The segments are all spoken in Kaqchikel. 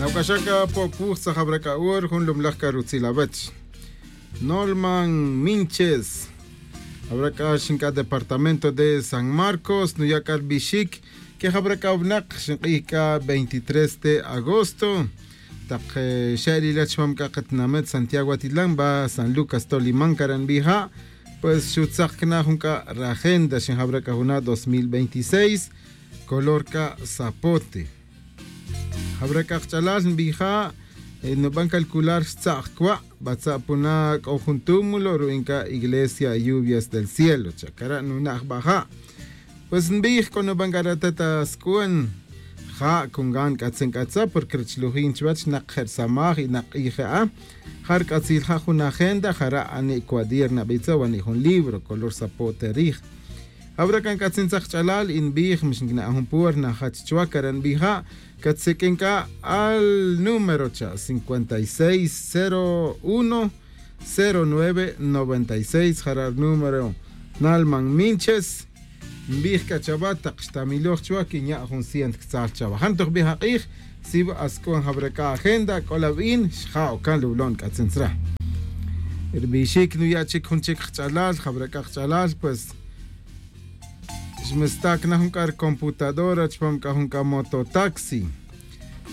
Nawk'axaka Pop Wuj tzajabraka ur jun lumlaj karutzilavech. Norman Minches. Habrá xinka departamento de San Marcos, nuyakar bishik, que habrá wnaq xinq'ijka 23 de agosto. Taq xe'lilach mamka qatnamet Santiago Atitlán va San Lucas Tolimán karanbija. Pues xutzaqkna junka ragenda xin habrá juna 2026 color ka zapote. Habrá qachalal nbija no van calcular tzaqkwa batzapuna jun túmulo ruinka iglesia lluvias del cielo chakara nunaj baja. Pues nbij kono bangaratata skuen ja kungan katzen katza porque richlujin chwach naq samaj y naq ija jar katzil ja jun agenda jara ani cuaderna bitza wani jun libro color zapote rij. Habrá kan katzen tzaqchalal inbij mishnkna jun puer na hachchua karan bija katzekenka al número cha 5601 0996 jarar número Nalman Minches Mbij kachaba taqxtamiloq chua kiña jun cient ktzal chaba jantoq bija q'ij sib askon habraka agenda kolabin xja okan lublon katzentzra Irbishik nuyachik jun chik qchalal habraka qchalal pues xmestak najunkar computadora chpam ka mototaxi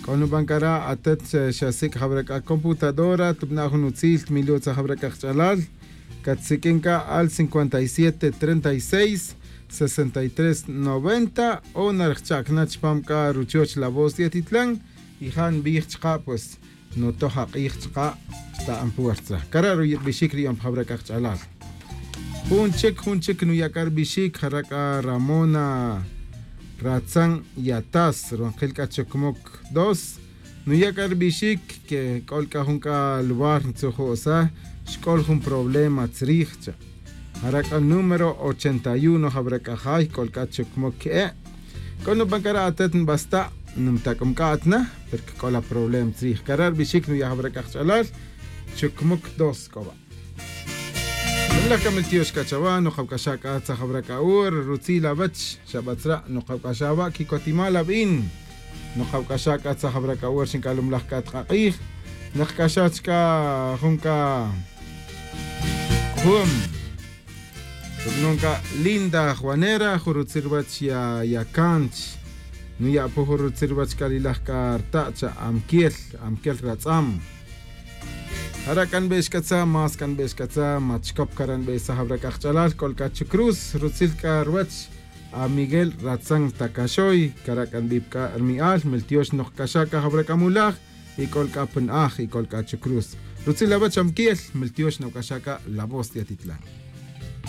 kono bankara atet xasik habraka computadora tubna jun utzil tmilotza habraka qchalal katsikinka al 57 36 63 90 o narchakna chpamka ruchoch la voz de Atitlán y han bichka pues no toja q'ichka ta ampuerza kararu bishikri am habraka qchalal jun chik nuyakar bishik jaraka Ramona Ratzan Yatas ronqilka chokmok 2 nuyakar bishik que kolka junka lugar tsojosa xkol jun problema tzrijcha Haraka número 81 habraka jay kolka chokmok e kono bankara atet basta numtakumkatna porque kola problem tzrij karar bishik nuya habraka qchalal chokmok 2 koba La kameltiosh kachawa no qawkashaka tzajabraka ur rutzila bach shabatzra no qawkashaba kikotimala bin no qawkashaka tzajabraka ur xinkalumlaj katqaqij naqkashachka junka hum nunca linda Juanera jurutzirwach ya yakanch nuya pujurutzirwach kalilaj kartacha amkiel amkiel ratzam Harakan beshkatza, mas kan beshkatza, machkop karan beshabraka qchalal, kolkachu cruz, rutzilka ruach, a Miguel Ratzan Takashoy, karakan bibka armial, meltiosh nohkashaka habrakamulaj, y kolka penaj y kolkachu cruz. Rutzila bach amkiel, meltiosh nokashaka la voz de Atitlán.